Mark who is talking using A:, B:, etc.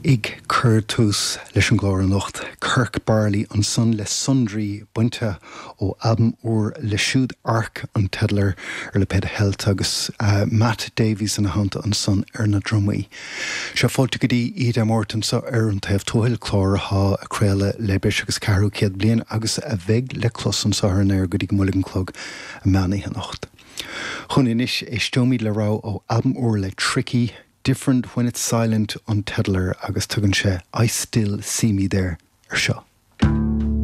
A: Ag cur tús leis an gclár anocht, Kirk Barley ansan le Sundry bainte ó albam úr leis siúd, Arc an teideal air, ar lipéad Heilt agus Matt Davies ina theannta ansan ar na drumaí. Sea, fáilte go dtí Oíche Dé Máirt anso ar An Taobh Tuathail, clár athá ag craoladh le breis agus ceathrú céad bliain agus a bheidh le clos anso ar an aer go dtí go mbuailfidh an clog meán oíche anocht. Chugainn anois, éisteoimid le rogha ó albam úr le Tricky, Different When It's Silent an teideal air agus tugann sé I Still See Me There ar seo.